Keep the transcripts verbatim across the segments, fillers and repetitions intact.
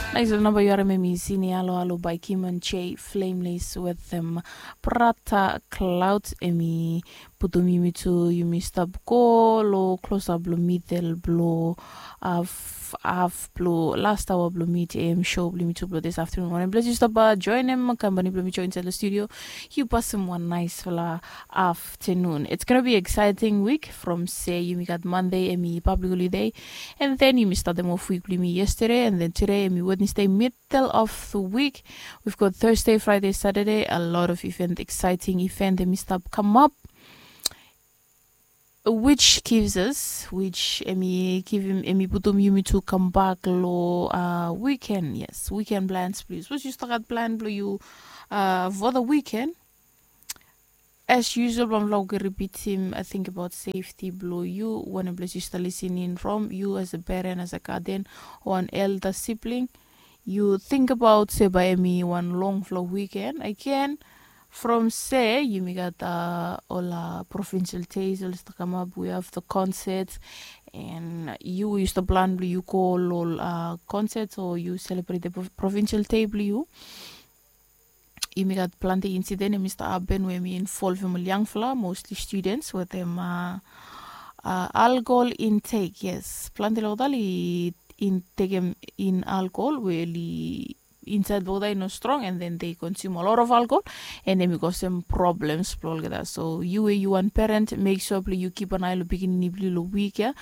Nais ol namba yu harim em i sini alo alo bai kimon j flameless wetem brata cloud. Em i putum yumi tu yumi stap go lo klosap lo midel blo af af blo last aoa blo mid am show blo yumi tu blo dis afternoon wanem ples yu stap joinem kampani blo mi join insaed lo studio. Yu pasim wan naisfala afternoon. It's gonna be exciting week from se yumi gat monday em i public holiday, and then yumi statem of week blo yumi yesterday and then today em i wednesday middle of the week. We've got thursday friday saturday a lot of event exciting event em i stap come up, which gives us which em i givim em i putum yumi tu come back lo uh, weekend. Yes, weekend plans please was yu start plan blo yu uh, for the weekend. As usual bamfala oke repeatim I think about safety blo yu wanem ples yu start listening from yu as a parent as a guardian or an elder sibling. Yu think about se bai em i wan longfala weekend again. From se yumi gat uh, ol uh, provincial days ol start come up we have the concert, and yu yu start plan blo yu go ol ol uh, concert o yu celebrate the provincial day blo yu. Yumi gat planti incident em i start happen we em i involvem ol yangfala mostly students wetem uh, uh, alcohol intake. Yes, planti lokdal i in tekem in alcohol we oli insaed bokta i no strong and then they consume a lot of alcohol, and em i kosem problems blo olgeta. So yu we yu wan parent make sure blo yu keep an eye lo pikinini blo yu lo week ya.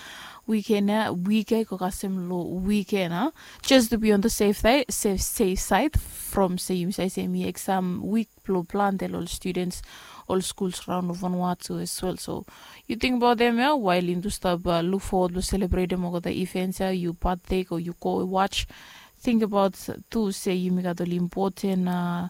Weekend ya week ya i go kasem lo weekend a just to be on the safe side, safe, safe side. From se yumi side se mi exam week blo planti lo ol students ol schools raon lo Vanuatu as well. So yu think about them ya while yu do stap uh, look forward lo celebrate them olgeta events ya yu partake o yu go watch. Think about tu se yumi gat ol important uh,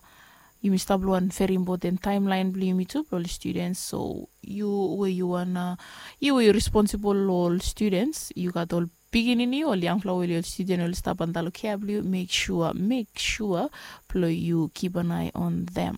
yumi stap lo wan very important timeline blo yumi tu blo ol students. So yu we yu wan uh, yu we yu responsible lo ol students yu gat ol pikinini ol yangfala we ol student ol stap antalo care blo yu make sure make sure blo yu keep an eye on them.